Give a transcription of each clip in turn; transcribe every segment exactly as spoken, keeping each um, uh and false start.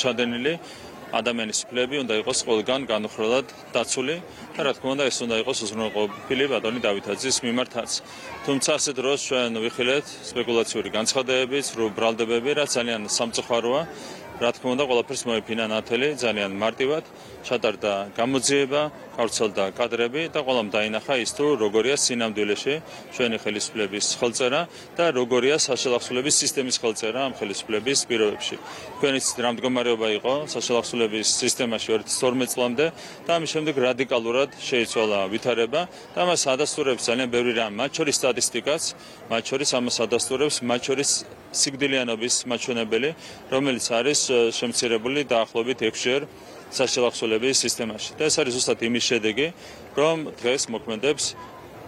ჩადენილი ადამიანის უფლებები უნდა იყოს ყველგან განუხრელად დაცული და რა თქმა უნდა ეს უნდა იყოს უზრუნველყოფილი ბატონი დავითაძის მიმართაც. თუმცა ასე დროს ჩვენ ვიხილეთ სპეკულაციური განცხადებები, სრულ ბრალდებები, რაც ძალიან სამწუხაროა. რა თქმა უნდა ყველაფერს მოიფინა ნათელი ძალიან მარტივად, ჩატარდა გამოძიება, გავრცელდა კადრები და ყველამ დაინახა ის თუ როგორია სინამდვილეში ჩვენი ხელისუფლების ხელწერა და როგორია საშალახსულების სისტემის ხელწერა ამ ხელისუფლების პირობებში. თქვენ იცით რა მდგომარეობა იყო საშალახსულების სისტემაში ორი ათას თორმეტ წლამდე და ამის შემდეგ რადიკალურად შეიცვალა ვითარება და მას ადასტურებს ძალიან ბევრი რამ, მათ შორის სტატისტიკაც, მათ შორის ამას ადასტურებს, მათ შორის სიკვდილიანობის მაჩვენებელი, რომელიც არის შემცირებული დაახლოებით ექვსჯერ საშალახსულების სისტემაში. და ეს არის ზუსტად იმის შედეგი, რომ დღეს მოქმედებს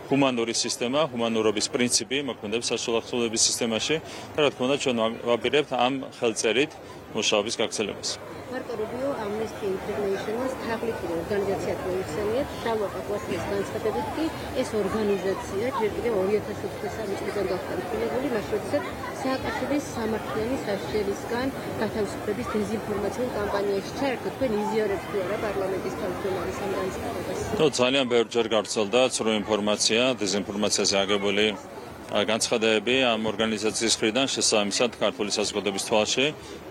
ჰუმანური სისტემა, ჰუმანურობის პრინციპი მოქმედებს საშალახსულების სისტემაში და რა თქმა უნდა ჩვენ ვაპირებთ ამ ხელწერით მუშაობის გაგრძელებას. Marco Rubio, Amnesty International-ს თაღლითი ორგანიზაციად მოიხსენიათ, შავყა კვარტალის განცხადებით კი ეს ორგანიზაცია ჯერ კიდევ ორი ათას ოცდასამი წლიდან გახდა მკვლელებული, მას როდესაც სააკაშვილის სამართლიანი სასჯელისგან გათავისუფლების დეზინფორმაციულ კამპანიაში ჩაერთო. თქვენ იზიარებთ თუ არა პარლამენტის თავმჯდომარის ამ განცხადებას? ნუ ძალიან ბევრჯერ გავრცელდა ცრუ ინფორმაცია, დეზინფორმაციაზე აგებული განცხადებები ამ ორგანიზაციის მხრიდან შესაბამისად ქართული საზოგადოების თვალში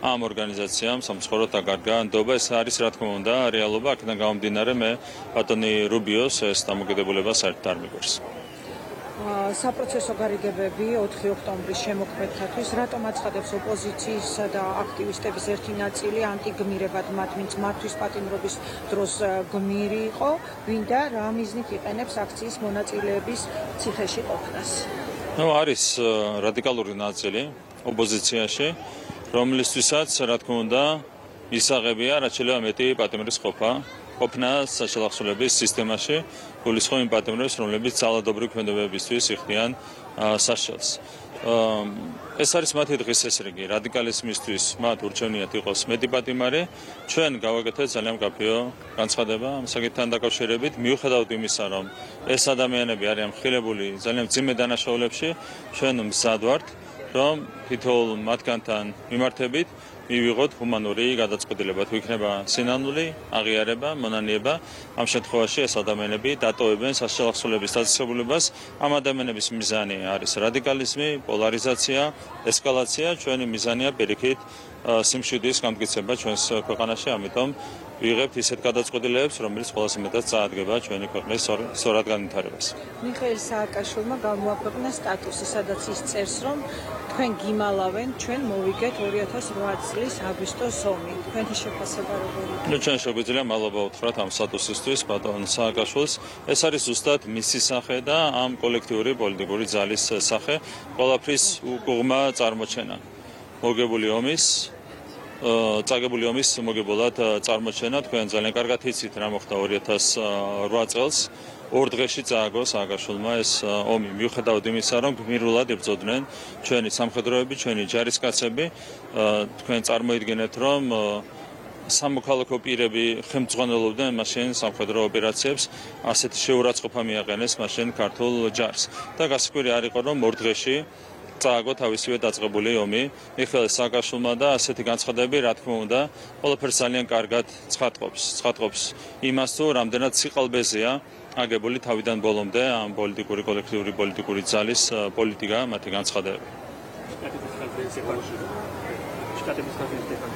ამ ორგანიზაციამ სამწუხაროდ დაკარგა ნდობა. ეს არის რა თქმა უნდა რეალობა, აქედან გამომდინარე მე ბატონი რუბიოს ეს დამოკიდებულება საერთოდ არ მიგვერს. საპროცესო გარიგებები ოთხი ოქტომბრის შემოქმედთათვის რატომ აცხადებს ოპოზიციისა და აქტივისტების ერთი ნაწილი ანტიგმირებად მათ, ვინც მათთვის პატიმრობის დროს გმირი იყო, ვინ და რა მიზნით იყენებს აქციის მონაწილეების ციხეში ყოფნას? ნუ არის რადიკალური ნაწილი ოპოზიციაში, რომლისთვისაც რა თქმა უნდა ისაღებია რაც შეიძლება მეტი პატიმრის ყოფა ყოფნა საშალახსულების სისტემაში, გულისხმობ იმ პატიმრებს, რომლებიც ძალადობრივი ქმედებებისთვის იხდიან სასჯელს. ეს არის მათი დღის ესრიგი, რადიკალიზმისთვის მათ ურჩევნიათ იყოს მეტი პატიმარი. ჩვენ გავაკეთეთ ძალიან მკაფიო განცხადება ამ საკითხთან დაკავშირებით, მიუხედავად იმისა, რომ ეს ადამიანები არიან მხილებული ძალიან მძიმე დანაშაულებში, ჩვენ მზად ვართ, რომ თითოეულ მათგანთან მიმართებით მივიღოთ ჰუმანური გადაწყვეტილება, თუ იქნება სინამდვილე აღიარება, მონანიება, ამ შემთხვევაში ეს ადამიანები დატოვებენ საშალახსულების დაწესებულებას. ამ ადამიანების მიზანი არის რადიკალიზმი, პოლარიზაცია, ესკალაცია, ჩვენი მიზანია პირიქით სიმშვიდის გამტკიცება ჩვენს ქვეყანაში, ამიტომ ვიღებთ ისეთ გადაწყვეტილებებს, რომელიც ყველაზე მეტად წაადგება ჩვენი ქვეყნის სწორად განვითარებას. მიხეილ სააკაშვილმა გამოაქვეყნა სტატუსი, სადაც ის წერს, რომ თქვენ გიმალავენ, ჩვენ მოვიგეთ ორი ათას ოთხ წლის აგვისტოს ომი. თქვენი შეფასება როგორია? ნუ ჩვენ შეგვიძლია მადლობა უთხრათ ამ სტატუსისთვის ბატონ სააკაშვილს. ეს არის ზუსტად მისი სახე და ამ კოლექტიური პოლიტიკური ძალის სახე, ყველაფრის უგუღმა წარმოჩენა. მოგებული ომის წაგებული ომის მოგებულად წარმოჩენა. თქვენ ძალიან კარგად იცით რა მოხდა ორი ათას ოთხ წელს. ორ დღეში წააგო სააკაშვილმა ეს ომი, მიუხედავად იმისა, რომ გმირულად იბრძოდნენ ჩვენი სამხედროები, ჩვენი ჯარისკაცები. თქვენ წარმოიდგინეთ, რომ სამოქალაქო პირები ხელმძღვანელობდნენ მაშინ სამხედრო ოპერაციებს, ასეთი შეურაცხყოფა მიაყენეს მაშინ ქართულ ჯარს. და გასაკვირი არ იყო, რომ ორ დღეში წააგო თავისივე დაწყებული ომი მიხეილ სააკაშვილმა და ასეთი განცხადებები რა თქმა უნდა ყველაფერს ძალიან კარგად ცხადყოფს. ცხადყოფს იმას, თუ რამდენად სიყალბეზეა აგებული თავიდან ბოლომდე ამ პოლიტიკური კოლექტიური პოლიტიკური ძალის პოლიტიკა, მათი განცხადებები. შტატების ხელისუფლებამ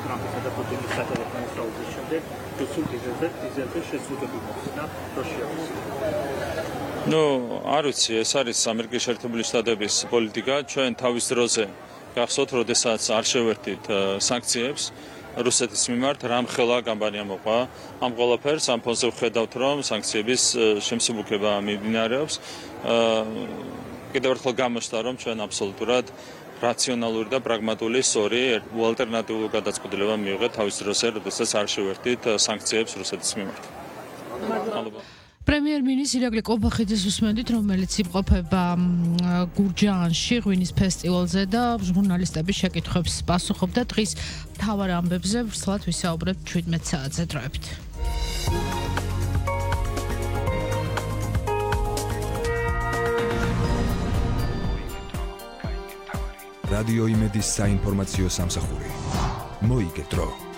ტრამპისა და პუტინის სატელეფონო საუბრის შემდეგ რუსულ დიზელზე დიზელზე შეზღუდვები მოხდა რუსიაში. ნუ არ ვიცი, ეს არის ამერიკის შეერთებული შტატების პოლიტიკა. ჩვენ თავის დროზე გახსოვთ, როდესაც არ შევერთით სანქციებს რუსეთის მიმართ, რამხელა კამპანია მოყვა ამ ყველაფერს. ამ ფონზე ვხედავთ, რომ სანქციების შემსუბუქება მიმდინარეობს. კიდევ ერთხელ გამოჩნდა, რომ ჩვენ აბსოლუტურად რაციონალური და პრაგმატული სწორი ალტერნატიული გადაწყვეტილება მივიღეთ თავის დროზე, როდესაც არ შევერთით სანქციებს რუსეთის მიმართ. მადლობა. პრემიერ-მინისტრი ირაკლი ყობახიძის უსმენდით, რომელიც იმყოფება გურჯაანში ღვინის ფესტივალზე და ჟურნალისტების შეკითხვებს პასუხობდა. დღის მთავარ ამბებზე ვრცლად ვისაუბრებთ ჩვიდმეტ საათზე დროებით. რადიო იმედის საინფორმაციო სამსახური. მოიგე დრო.